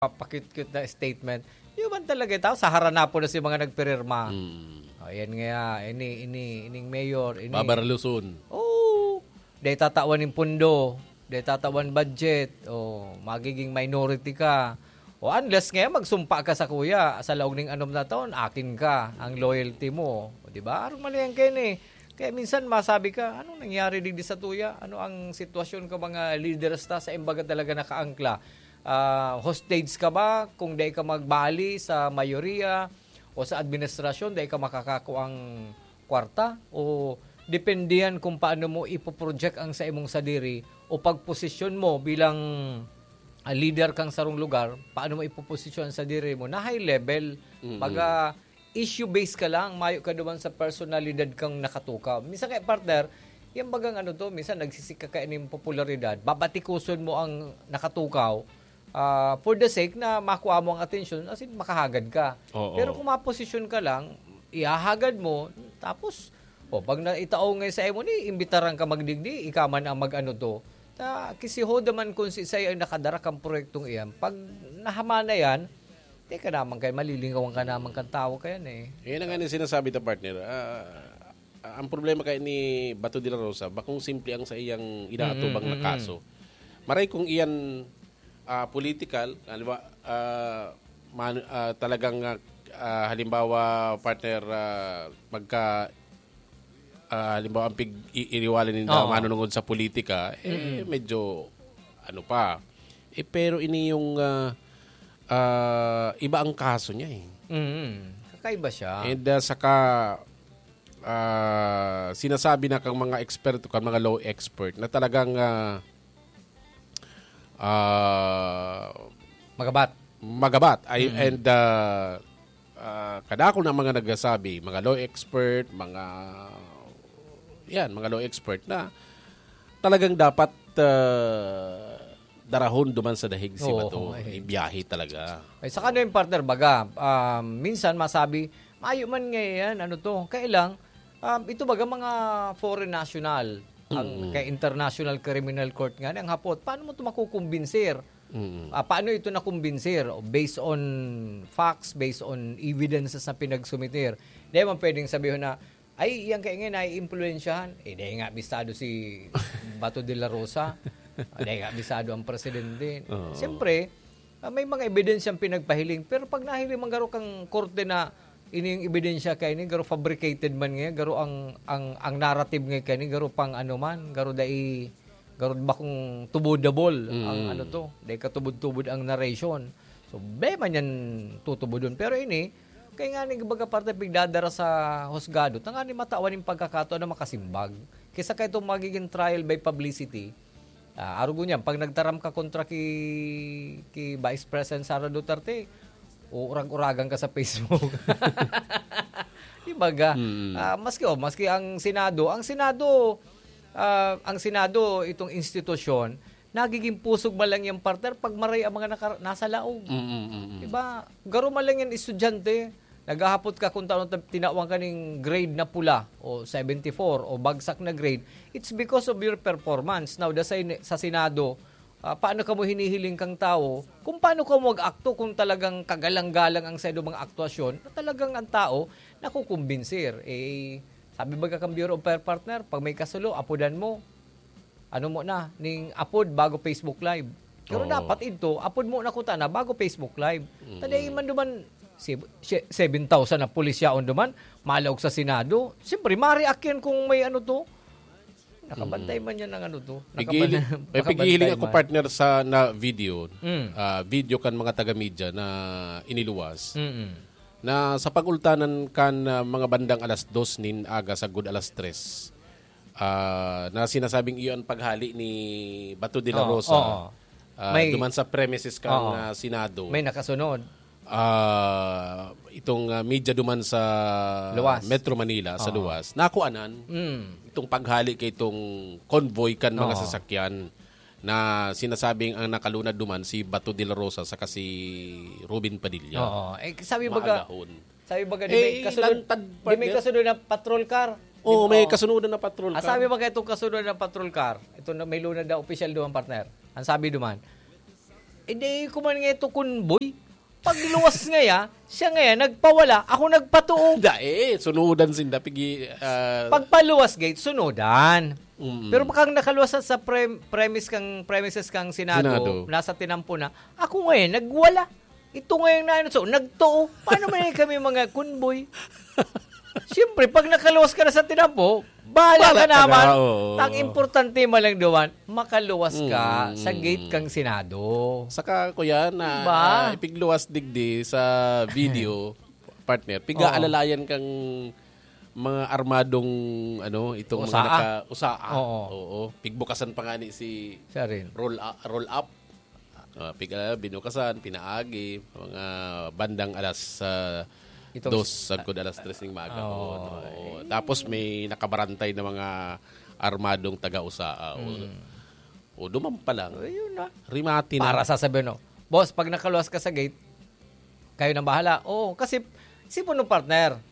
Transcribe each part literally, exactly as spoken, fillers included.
Papakit-cute na statement. Yung man talaga tao, sa haranapo na si mga nagpirirma. Mm. O, yan nga, ini, ini, ining mayor, ini. Babarluson. Oo. Dahil tatawan ng pundo, dahil tatawan budget, o magiging minority ka. O unless nga, magsumpa ka sa kuya, sa laog ning anom na taon, akin ka, ang loyalty mo. O, di ba? Arong mali yan kayo eh. Kaya minsan masabi ka, anong nangyari digdi sa tuya? Ano ang sitwasyon ka mga leaders ta sa imbaga talaga nakaangkla? Ah, hostage ka ba kung dai ka magbali sa mayoriya o sa administrasyon, dai ka makakakuang kwarta? O depende yan kung paano mo ipoproject ang sa imong sadiri o pagposisyon mo bilang ah, leader kang sarong lugar, paano mo ipoposisyon ang sadiri mo na high level? Baga, issue-based ka lang, mayo ka duman sa personalidad kang nakatukaw. Minsan kaya, partner, yan bagang ano to, minsan nagsisik ka kaya ning popularidad, babatikuson mo ang nakatukaw, ah, for the sake na makuha mo ang atensyon, as in, makahagad ka. Oo. Pero kung maposisyon ka lang, ihahagad mo, tapos, o, pag naitao nga sa imo ni, imbitaran ka magdigdi, ika man ang mag-ano to. Ta, kisihoda man kung si Isay ang nakadara kang proyektong iyan. Pag nahama na yan, di ka naman kayo, malilingawan ka naman kang tao kayan eh. Yan ang nga sinasabi ta, partner. Ah, ang problema kay ni Bato de la Rosa, bakong simple ang sa iyang inaatubang na kaso. Maray kung iyan ah, political, halimbawa, ah, man, ah, talagang ah, ah, halimbawa, partner, ah, magka ah, halimbawa ang pig i- iriwala ninda Oo. manunungod sa politika, eh medyo ano pa. Eh, pero ini yung ah, ah, iba ang kaso niya eh. Mm. Kakaiba siya. And ah, saka ah, sinasabi na kang mga eksperto, kang mga law expert na talagang ah, ah, Magabat. magabat. Ay, and ah, ah, kadakol na mga nagsasabi, mga law expert, mga yan, mga law expert na talagang dapat ah, darahon duman sa dahig si Oo, Bato. eh. Ibiyahe talaga. Ay, saka ano yung partner, baga, um, minsan masabi, mayo man nga yan, ano to, kaya lang, um, ito baga mga foreign national, ang kay International Criminal Court nga, ang hapot, paano mo ito makukumbinsir? Mm. Ah, paano ito nakumbinsir? O, based on facts, based on evidences na pinagsumiter. Di man pwedeng sabihin na, ay, iyang kaingin, naiimpluwensyahan. Eh, dahil nga bistado si Bato de la Rosa. Ah, dahil nga bistado ang presidente. Oo. Siyempre, ah, may mga ebidensyang pinagpahiling. Pero pag nahiling man garo kang korte na ini yung ebidensya kay ni garo fabricated man nga, garo ang ang ang narrative nga kay ni garo pang ano man, garo dai garo bakong tubodabol ang Mm. ano to, dai katubod-tubod ang narration. So, be man yan tutubodon. Pero ini, kaya nga ni baga parte pigdadara sa husgado, tanga ni matawan yung pagkakataon na makasimbag. Kaysa kay itong magiging trial by publicity, ah, arugo niyan, pag nagtaram ka kontra ki, ki Vice President Sara Duterte, uurag-uragan ka sa Facebook. Di baga, Mm. ah, maski, oh, maski ang Senado, ang Senado, ah, ang Senado, itong institusyon, nagiging pusog man lang yung partner pag maray ang mga naka, nasa laog. Mm, mm, mm, mm. Diba? Garo man lang yan estudyante. Naghahapot ka kung taon ta- tinawag ka ning grade na pula o seventy-four o bagsak na grade. It's because of your performance. Now, the, sa, sa Senado, ah, paano ka mo hinihiling kang tao? Kung paano ka mo mag-akto kung talagang kagalang-galang ang sa mga aktuasyon, na talagang ang tao nakukumbinsir. Eh, sabi ba ka kang Bureau of Fire Partner, pag may kasulo, apudan mo. Ano mo na, ning apod bago Facebook Live. Pero Oo. dapat ito, apod mo na kuta na bago Facebook Live. Taday man duman, si, si, seven thousand na pulis yaon duman, malaog sa Senado. Siyempre, ma-react yan kung may ano to. Nakabantay man yan ng ano to. Pigili, Nakaban- may pigiling nakabantay ako man. Partner sa na video, Mm. ah, video kan mga taga-media na iniluwas. Mm-mm. Na sa pag-ultanan kan ah, mga bandang alas dos nin aga sagod alas tres, ah, na sinasabing iyon ang paghali ni Bato de la Oo, Rosa oo. ah, May duman sa premises kan Oo. ah, Senado. May nakasunod. Ah, itong ah, media duman sa Luwas. Metro Manila, sa Oo. luwas, nakuanan Mm. itong paghali kay itong convoy kan mga Oo. sasakyan na sinasabing ang nakalunad duman si Bato de la Rosa saka si Robin Padilla. Oo. Eh, sabi baga, Maagahon. Sabi baga, di may Eh, kasunod, lantad, di may partner. Kasunod na patrol car. Oo, Di- may oo. Kasunod na patrol Ah, car. Sabi baga itong kasunod na patrol car, ito na may lunad na opisyal duman, partner. Ang sabi duman, Hindi ko man nga ito convoy. Pagluwas ngaya, siya ngaya nagpawala, ako nagpatuo. Dai, sunudan sinda, pigi, ah, Pagpaluwas gate, sunudan. Mm. Pero pag nakaluwas sa, sa pre- premise kang, premises kang Senado, Senado. Nasa tinampo na, ako ngayon, nagwala. Ito ngayon na ano, so, nagtuo. Paano man kami mga convoy? Siyempre, pag nakaluwas ka na sa tinampo, bahala, Bahala ka ka naman. na, oo. Ang importante man lang duman, makaluwas ka Mm. sa gate kang Senado. Saka, kuya, na Diba? ah, ipigluwas digdi sa video, partner, pig-aalalayan kang mga armadong, ano, itong Usaa. mga naka-usaa. Oo. Oo. Pigbukasan pa nga ni si Siya rin. roll up, roll up. Ah, pig, ah, binukasan, pinaagi, mga bandang alas ah, Itong dos, sagkod alas tres ning maaga. Oo. Oo, oo. Tapos may nakabarantay na mga armadong taga-usaa. O, Mm. o duman pa lang. Ayun na. Rimati na. Para sasabihin, no? Boss, pag nakaluwas ka sa gate, kayo nang bahala. Oo, kasi, si puno partner,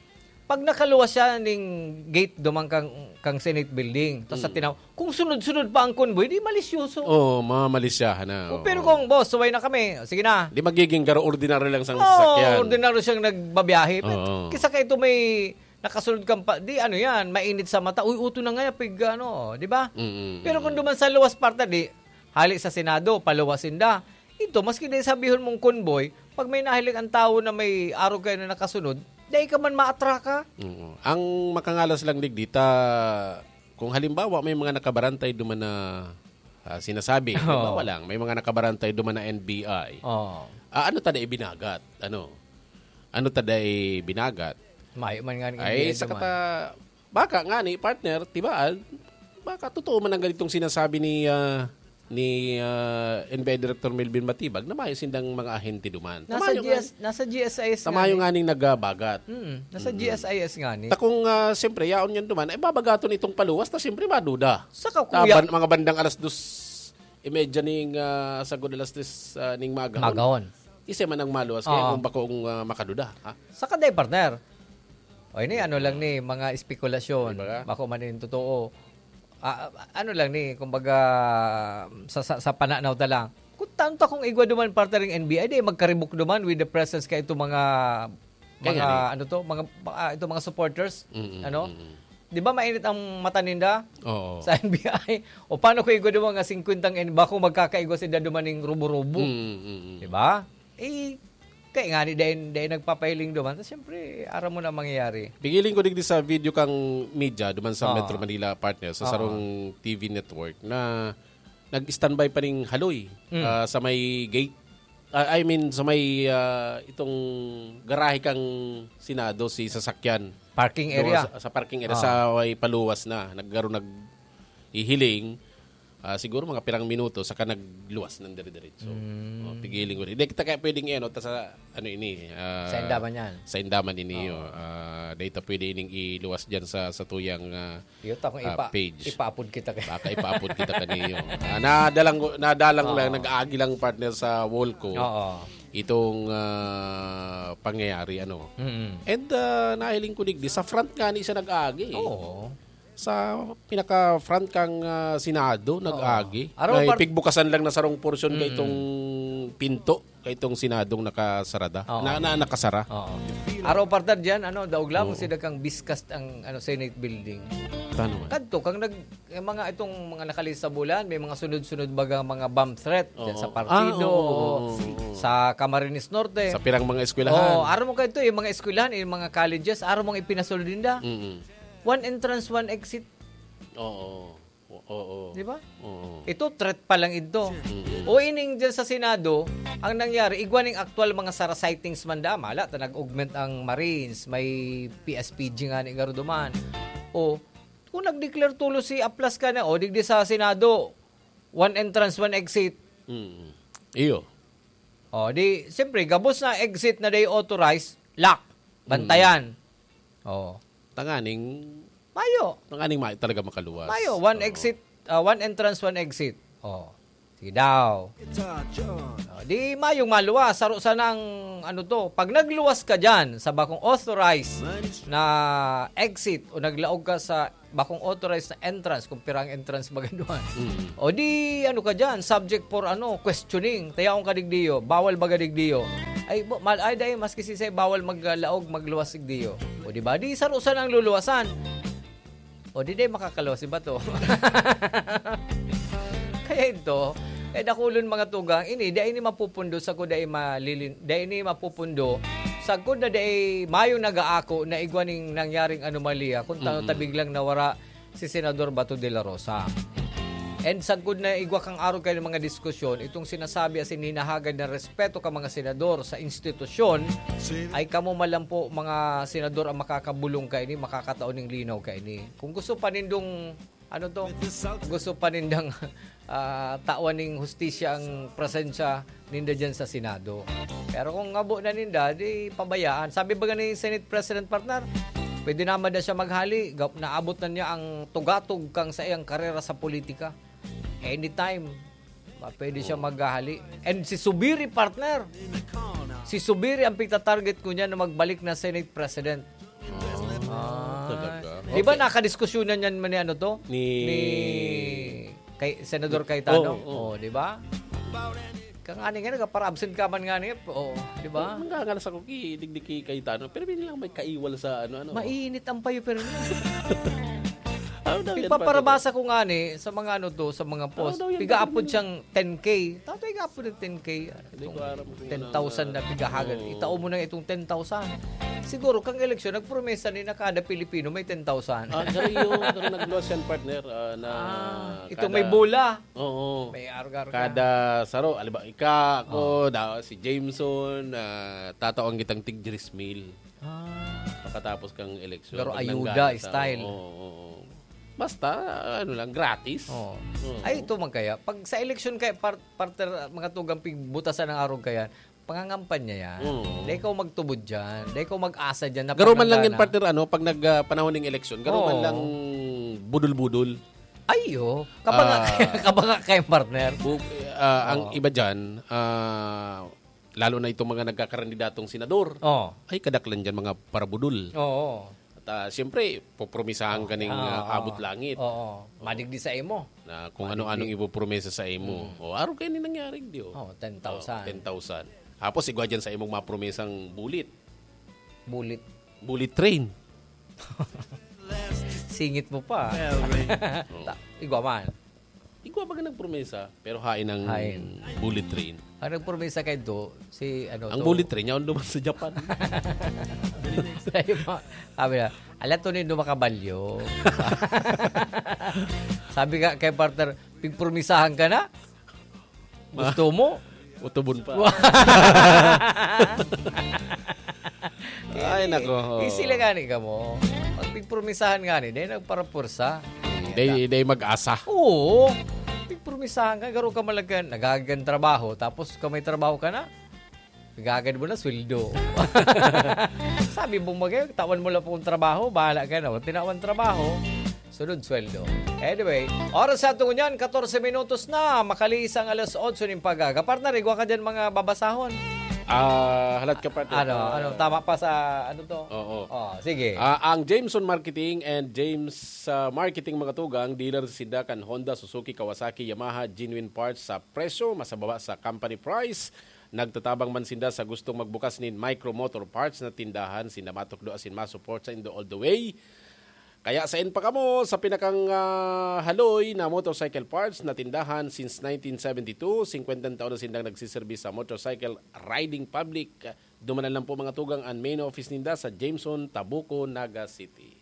pag nakaluwas siya ning gate duman kang, kang Senate Building, tapos sa Mm. tinaw, kung sunod-sunod pa ang convoy, di malisyoso. Oo, mamalisyahan na. O, Oo. pero kung, boss, suway na kami, sige na. Di magiging garo ordinaryo lang sa Oo, sasakyan. ordinaryo siyang nagbabiyahe. Pero Oo. kisa ka ito may nakasunod kang pa, di ano yan, mainit sa mata. Uy, uto na nga, pig, ano, di ba? Mm-mm. Pero kung duman sa luwas parte, di, hali sa Senado, paluwasin da. Ito, maski di sabihon mong convoy, pag may nahiling ang tao na may arog kayo na nakasunod, dai ka man maatraka. Oo. Ang makangalas lang digdi ta, kung halimbawa may mga nakabarantay duman na ah, sinasabi, Oo. halimbawa lang, may mga nakabarantay duman na N B I. Oh. Ah, ano ta dai binagat? Ano? Ano ta dai binagat? Mayo man nga ning Ay, N B I sa duman. kata, baka nga ni partner, tibaad, baka totoo man ang ganitong sinasabi ni ah, ni ah, N B I Director Melvin Matibag na mayo sindang mga ahente duman. Nasa, Tamayo G S, nasa G S I S nga, tamayo nga. nga ning nagabagat. Hmm, nasa G S I S nga ni. Ta kung ah, siyempre, yaon yan duman, ay babagaton itong paluwas, ta siyempre maduda. Saka Ta kuya, ban- mga bandang alas dos y media ning ah, sagod alas tres ah, ning maga. Magahon. Isa man ang maluwas kaya Oo. kung bakong ah, makaduda. Ha? Saka day, partner. O ini, ano lang ni, mga espekulasyon. Di ba? Bako man yung totoo. Ah, ano lang ni, kumbaga, sa, sa, sa pananaw ta lang. Kung tanto akong igwa duman, partner, yung N B I, di magkaribok duman with the presence ka itong mga, Kaya mga, nga ni. ano to, mga, ah, itong mga supporters, Mm-mm, ano? mm-mm. Di ba mainit ang mata ninda Oo. sa N B I? O paano kung igwa duman nga singkwentang N B I, bako magkakaigwa sila duman ning rubo-rubo? Mm-mm. Di ba? Eh, kaya nga ni, dahil, dahil nagpapahiling duman, tapos siyempre, aram mo na mangyayari. Pigiling ko digdi sa video kang media duman sa Oo. Metro Manila, partner, sa Oo. sarong T V network na nag-standby pa ning haloy Mm. ah, sa may gate. Ah, I mean, sa may ah, itong garahe kang Senado, si sasakyan. Parking Doon area. Sa, sa parking area, Ah. sa may paluwas na. Naggaro nag-ihiling, ah, siguro mga pirang minuto, saka nagluwas ng dire-diretso. Mm. Oh, pigiling ko. Hindi kita kaya pwedeng ano, ta sa ano ini. ah, Sa Indaman yan. Sa Indaman ini. Oh. Ah, data pwede ining iluwas dyan sa, sa tuyang ah, Yun, ta kung ah, ipa, page. ipaapod kita kay Baka ipaapod kita kaniyo. Ah, nadalang, nadalang Oo. lang, nag-aagi lang partner sa wall ko. Oo. Itong ah, pangyayari, ano. Mm. And ah, nahiling ko digdi, sa front nga ni siya nag-aagi. Oo. Sa pinaka-front kang ah, Senado, nag-agi. Araw May par- pigbukasan lang na sarong portion Mm. kay itong pinto, kay itong Senadong nakasarada. Oo. Na, na nakasara. Oo. Araw partner dyan, ano, daog lamang Oo. sila kang biskas ang ano, Senate building. Tano man. Kadto, kang nag, eh, mga itong mga nakalisabulan, may mga sunod-sunod baga mga bomb threat dyan sa Oo. partido, Ah, oo, oo, oo. sa Camarines Norte. Sa pirang mga eskwelahan. Oh, araw mo kayo ito, yung mga eskwelahan, yung mga colleges, araw mong ipinasulod ninda. Mm-mm. One entrance, one exit. Oo. Oo. Di ba? Oo. Ito, threat pa lang ito. Mm-mm. O ining dyan sa Senado, ang nangyari, igwa ning actual mga sara sightings man da, mala, ta nag-augment ang Marines, may P S P G nga ni Garuduman. O, kung nag-declare tulo si Aplas ka na, o, digdi sa Senado, one entrance, one exit. Mm. Iyo. O, di, siyempre, gabos na exit na day authorized, lock, bantayan. O, Tanganing, mayo. tanganing mayo talaga makaluwas. Mayo, one Oo. exit, ah, one entrance, one exit. O. Sige daw. O, di mayong maluwas, saro sanang, ano to, pag nagluwas ka dyan sa bakong authorized na exit o naglaog ka sa bakong authorized na entrance, kung pirang entrance ba ganun. O di, ano ka dyan, subject for, ano, questioning. Tayaon ka digdiyo, bawal ba digdiyo? Ay, bo-, mal-, ay, dahil maski sisay, bawal maglaog, magluwas digdiyo. O di ba? Di, saro sanang luluwasan. O di, di makakaluwas si bato. Kaya ito, eh, dakulon mga tugang, ini, dai ini mapupundo, sagkod dai malilin-, dai ini mapupundo, sagkod na dai mayong nagaako na igwa ning nangyaring anomalya, kung tano Mm. ta biglang nawara si Senador Bato de la Rosa. And sagkod na igwa kang arog kayo ng mga diskusyon, itong sinasabi asin hinahagad na respeto ka mga senador sa institusyon, ay kamo man lang po mga senador ang makakabulong kaini, makakatao ning linaw kaini. Kung gusto pa nindong, ano to, gusto pa nindang, ah, tawan ning hustisya ang presensya ninda dyan sa Senado. Pero kung ngabo na ninda, di pabayaan. Sabi ba ni Senate President, partner, pwede naman na siya maghali. Gap-, naabot na niya ang tugatog kang sa iyang karera sa politika. Anytime, ma-, pwede siya maghali. And si Subiri, partner. Si Subiri ang pitatarget ko niya na magbalik na Senate President. Ah, talaga? Di ba Okay. nakadiskusyonan yan man ni ano to? Ni Ni kay Senador Cayetano? Oo, oo. Oh, di ba? Kang ani nga, nagpara-absent ka man nga niya. Oo, di ba? Ang ngangalas ako, ki-, digdi ki Cayetano. Pero may lang may kaiwal sa ano, ano. Mainit ang payo, pero Ano daw yan, Ipapara-, partner? Basa ko nga ni sa mga ano to, sa mga post. Ano daw yan, Piga-apod partner? Siyang ten K. Tato, iga-apod ng ten K. Hindi ko alam kung ten thousand ano, na pigahagan. Oo. Itao mo na itong ten thousand. Siguro, kang eleksyon, nagpromesa ni na kada Pilipino may ten thousand. Ah, pero yung, pero nagluwas yan, partner, ah, na Ah, itong kada may bola. Oo. May argar ka. Kada saro, aliba, ika, ako, Oo. da-, si Jameson, ah, tatao ang gitang tig diyes mil. Ah. Pagkatapos kang eleksyon, Pero pag ayuda nanggana sa style. Oo, oo. Basta, ano lang, gratis. Oo. Oo. Ay, ito man kaya. Pag sa eleksyon kaya, par-, partner, mga tugang pigbutasan ng arog kaya, pangangampanya yan. Oo. Dahil ikaw magtubod dyan. Dahil ikaw mag-asa dyan na Garo man lang yan, pagnanggana. Partner, ano, pag nag, ah, panahon ng eleksyon, garo man Oo. lang budol-budol. Ay, oh. Kabanga, Ah. kabanga kayo, partner. Bu-, ah, ang Oo. iba dyan, ah, lalo na itong mga nagkakandidatong senador, Oo. ay kadaklan dyan mga parabudol. Oo. At, ah, siyempre, popromisahan ka ning, Oo. ah, abot langit. Oo. Madigdi sa imo. Na kung Madigdi. ano-anong ipopromesa sa imo. Mm. O, araw kayo ni nangyari, di, oh. Oh, ten thousand. Oh, ten thousand. Tapos, igwa dyan sa imong mga promesang bulit. Bulit. Bullet train. Singit mo pa. Well, Ray. Ta-, igwa man. Igwa baga nagpromesa, pero hain ang Hain. Bullet train. Ang nagpromesa kay Do, si ano Ang to? Bullet train, yaon duman sa Japan. Sabi mo, sabi na, "Ala, tunay do makabalyo." Sabi nga kay partner, "Pigpromisahan ka na? Gusto mo?" Utubon pa. Ay, nako. Easy lang gani ka mo. Pag pigpromisahan gani, dahil nagparapursa. Day, day mag-asa. Oo. Pigpromisahan ka, garo ka malagyan, nagagan trabaho, tapos kung may trabaho ka na, gagad mo na sweldo. Sabi mong magay, tawan mo lang pong trabaho, bahala ka na. Tinawan trabaho, sunod sweldo. Anyway, oras sa ato ngunyan, katorse minutos na, makaliis ang alas otso ning pag-aga. Partner, igwa ka dyan mga babasahon. Ah, halat ka, partner. Ano, ano, tama pa sa, ano to? Oo. Oh, sige. Ah, ang Jameson Marketing and James, ah, Marketing, mga tugang, dealer sa sinda kan Honda, Suzuki, Kawasaki, Yamaha, genuine parts sa presyo, mas mababa sa company price. Nagtatabang man sinda sa gustong magbukas nin Micro Motor Parts na tindahan. Sinda matukdo asin ma-support sa indo all the way. Kaya sain pa kamo sa pinakang, ah, haloy na motorcycle parts na tindahan since nineteen seventy-two. Singkwentang taon na sindang nagsiserbi sa motorcycle riding public. Dumanan lang po, mga tugang, ang main office ninda sa Jameson, Tabuco, Naga City.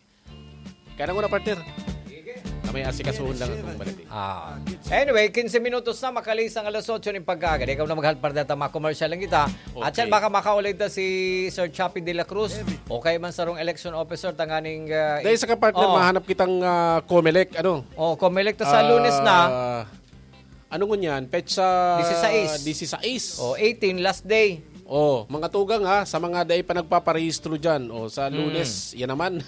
Kaya na muna, partner. Kami asikasuhon lang akong balik. Ah. Anyway, quince minutos na, makaliis ang alas otso ning pagkaaga. Ikaw na maghalpar data, mga commercial lang kita. At Okay. Yan, baka makaulay ta si Sir Chappie de la Cruz. Okay man sarong election officer, tanganing, ah, Dahil sa ka, partner, Oo. mahanap kitang, ah, Comelec, ano? Oh, Comelec ta sa Ah, Lunes na. Ano ngunyan? Petsa Disisais. Disisais. Oh, eighteen, last day. Oh, mga tugang ha, sa mga dai pa nagpaparehistro dyan, oh, sa Mm. Lunes, yan naman.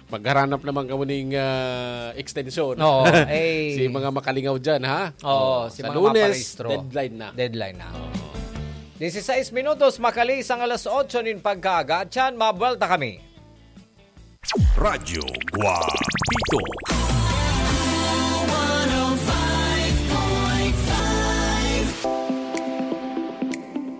Magharanap naman kamo ning, ah, extension. Oo, eh. Si mga makalingaw dyan, ha? Oo, Oh, si sa mga Lunes, maparehistro. Deadline na. Deadline na. Dieciséis minutos, makaliis ang alas otso nin pagkaaga. Tiyan, mabuelta kami. Radyo Guapito.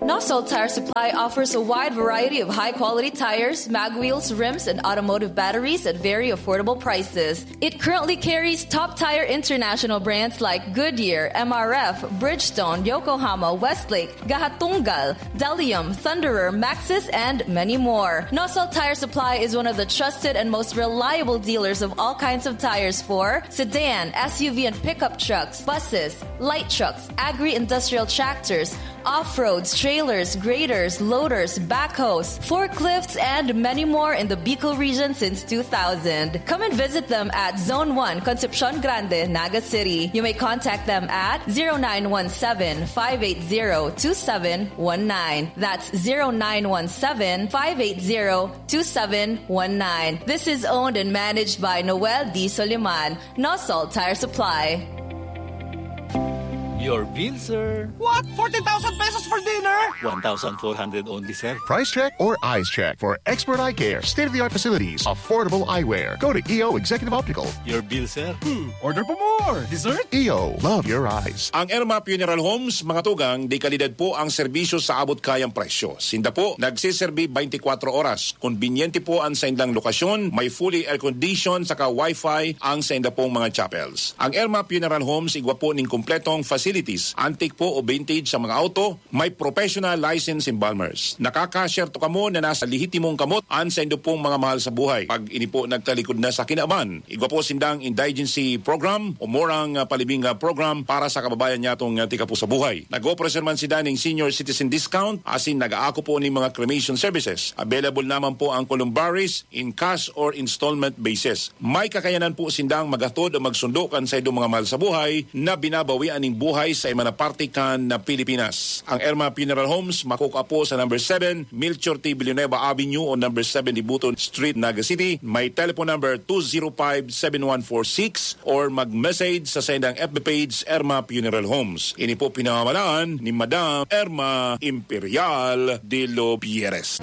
Nosol Tire Supply offers a wide variety of high-quality tires, mag wheels, rims, and automotive batteries at very affordable prices. It currently carries top tire international brands like Goodyear, M R F, Bridgestone, Yokohama, Westlake, Gahatunggal, Delium, Thunderer, Maxxis, and many more. Nosol Tire Supply is one of the trusted and most reliable dealers of all kinds of tires for sedan, S U V, and pickup trucks, buses, light trucks, agri-industrial tractors, off-roads, trailers, graders, loaders, backhoes, forklifts, and many more in the Bicol region since two thousand. Come and visit them at Zone one, Concepcion Grande, Naga City. You may contact them at zero nine one seven, five eight zero, two seven one nine. That's zero nine one seven, five eight zero, two seven one nine. This is owned and managed by Noel D. Soliman, Nosol Tire Supply. Your bill, sir. What? Fourteen thousand pesos for dinner? One thousand four hundred only, sir. Price check or eyes check for expert eye care, state-of-the-art facilities, affordable eyewear. Go to E O Executive Optical. Your bill, sir. Order pa more. Dessert? E O, love your eyes. Ang Erma Funeral Homes, mga tugang, de kalidad po ang serbisyo sa abot kayang presyo. Sinda po, nagsiserbi twenty-four oras. Konbinyente po ang saindang lokasyon, may fully air-conditioned saka wifi ang sainda pong mga chapels. Ang Erma Funeral Homes, igwa po ning kompletong facilities, antique po o vintage sa mga auto, may professional license embalmers. Nakakasyerto kamo na nasa lehitimong kamot an saindo pong mga mahal sa buhay. Pag ini po nagtalikod na sa kinaban, igwa po sindang indigency program o murang, ah, palibing, ah, program para sa kababayan nyatong, ah, tikapo sa buhay. Nag-operasyon man sinda ning senior citizen discount, asin nag-aako po ning mga cremation services. Available naman po ang columbaries in cash or installment basis. May kakayanan po sindang maghatod o magsundo kan saindong mga mahal sa buhay na binabawian ning buhay sa iba na parte kan na Pilipinas. Ang Erma Funeral Homes makukua po sa number seven, Melchor T. Villanueva Avenue o number seven Dibuton Street, Naga City. May telephone number two zero five, seven one four six or mag-message sa saindang F B page, Erma Funeral Homes. Ini po pinamamalaan ni Madam Erma Imperial de los Pierres.